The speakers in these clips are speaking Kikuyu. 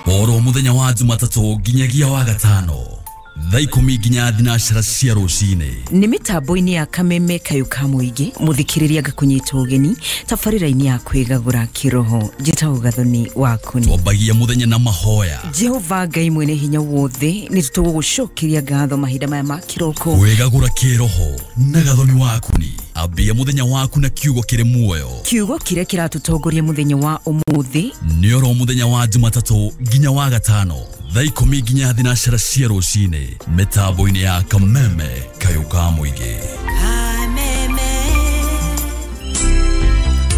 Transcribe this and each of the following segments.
Oro muthenya wa Jumatatũ nginyagia wa gatano thaa 10 nginya 12 cia rũcinĩ. Nĩ mĩtambo-inĩ ya Kameme Kayũ ka Mũingĩ, mũthikĩrĩria ngakũnyita ũgeni tabarĩra-inĩ ya kwĩgagũra kĩroho. Njĩtagwo Gathoni Wakuni. Twambagia mũthenya na mahoya. Jehova Ngai mwene hinya wothe, nĩ tũgũgũcokeria ngatho mahinda maya ma kĩroko. Kwĩgagũra kĩroho na Gathoni Wakuni. Ambia mũthenya waku na kiugo kĩrĩ muoyo. Kiugo kĩrĩa kĩratũtongoria mũthenya wa ũmũthĩ nĩ oro mũthenya wa Jumatatũ nginya wa gatano thaa 10 nginya 12 cia rũcinĩ mĩtambo-inĩ ya Kameme Kayũ ka Mũingĩ.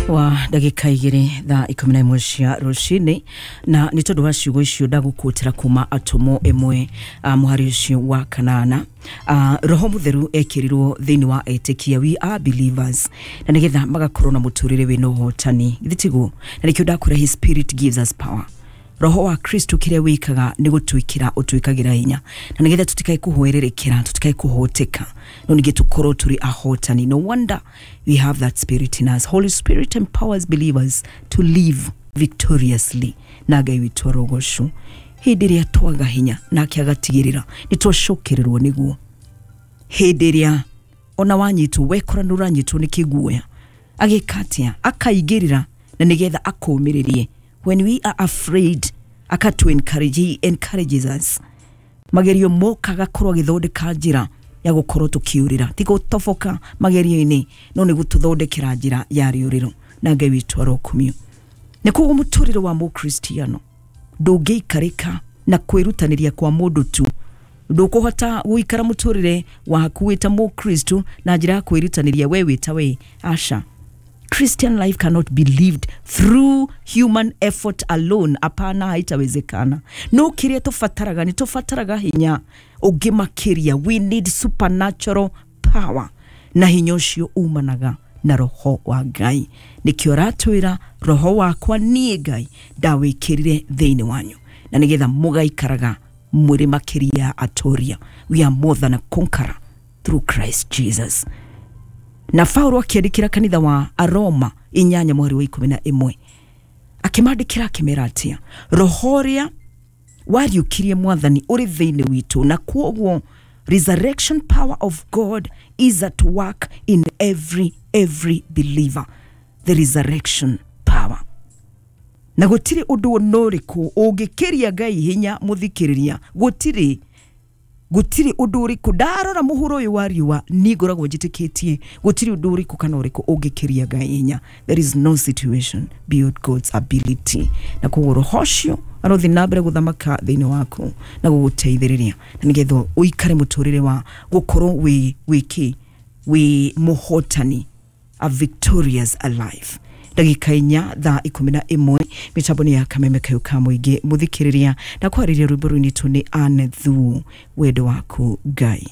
Wa ndagĩka 2 thaa 11 cia rũcinĩ, na nĩ tondũ wa ciugo icio ndagũkũtĩra kuma atũmwo 1 mũhari ũcio wa 8. Roho Mũtheru ekĩrirwo thĩinĩ wa etĩkia, we are believers, na nĩgetha magakorwo na mũtũrĩre wĩna ũhotani, githĩ tiguo? Na nĩkĩo ndakwĩra his spirit gives us power. Roho wa Kristo kĩrĩa wĩkaga nĩ gũtwĩkĩra ũtwĩkagĩra hinya, na nĩgetha tũtikae kũhwererekera, tũtikae kũhoteka, no ningĩ tũkorwo tũrĩ ahotani. No wonder we have that spirit in us. Holy Spirit empowers believers to live victoriously. Na Ngai witũ arogocwo. Hĩndĩ ĩrĩa twaga hinya nake agatigĩrĩra nĩ twacokererwo nĩguo. Hĩndĩ ĩrĩa ona wanyitwo, wekora nĩ ũranyitwo nĩ kĩguoya, agĩka atĩa? Akaingĩrĩra na nĩgetha akũũmĩrĩrie. When we are afraid, akatu encourage, he encourages us. Magerio moka agakorwo agĩthondeka njĩra ya gũkorwo tũkĩũrĩra, ti gũtoboka magerio-inĩ, no nĩ gũtũthondekera njĩra ya rĩũrĩro. Na Ngai witũ arokumio. Nĩ koguo mũtũrĩre wa mũkristiano ndũngĩikarĩka na kwĩrutanĩria kwa mũndũ tu. Ndũkũhota gũikara mũtũrĩre waku wĩ ta mũkristo na njĩra ya kwĩrutanĩria we wĩ ta we. Aca. Christian life cannot be lived through human effort alone. Hapana, haitawezekana. No kĩrĩa tũbataraga nĩ tũbataraga hinya ũngĩ makĩria. We need supernatural power, na hinya ũcio umanaga na roho wa Ngai. Nĩkĩo aratwĩra roho wakwa niĩ Ngai ndawĩkĩrire thĩinĩ wanyu, na nĩgetha mũgaikaraga mũrĩ makĩria atoria. We are more than a conqueror through Christ Jesus. Na Paulo akĩandĩkĩra kanitha wa Aroma 8 mũhari wa 11 akĩmandĩkĩra akĩmera atĩa? Roho ũrĩa wariũkirie Mwathani ũrĩ thĩinĩ witũ, na kwoguo resurrection power of God is at work in every believer. The resurrection power. Na gũtirĩ ũndũ ona ũrĩkũ ũngĩkĩria Ngai hinya mũthikĩrĩria. Gũtirĩ ũndũ ũrĩkũ. Ndarora mũhuro ũyũ wa riũa niĩ ngoragwo njĩtĩkĩtie gũtirĩ ũndũ ũrĩkũ kana ũrĩkũ ũngĩkĩria Ngai hinya. There is no situation beyond God's ability. Na koguo roho ũcio arothiĩ na mbere gũthamaka thĩinĩ waku na gũgũteithĩrĩria, na nĩgetha ũikare mũtũrĩre wa gũkorwo wĩ wĩ mũhotani, a victorious alive. Ndagĩka 4 thaa 11 mĩtambo-inĩ ya Kameme Kayũ ka Mũingĩ. Mũthikĩrĩria na kwarĩria rwĩmbo rũinĩtwo nĩ Anne Thuo, wendo waku Ngai.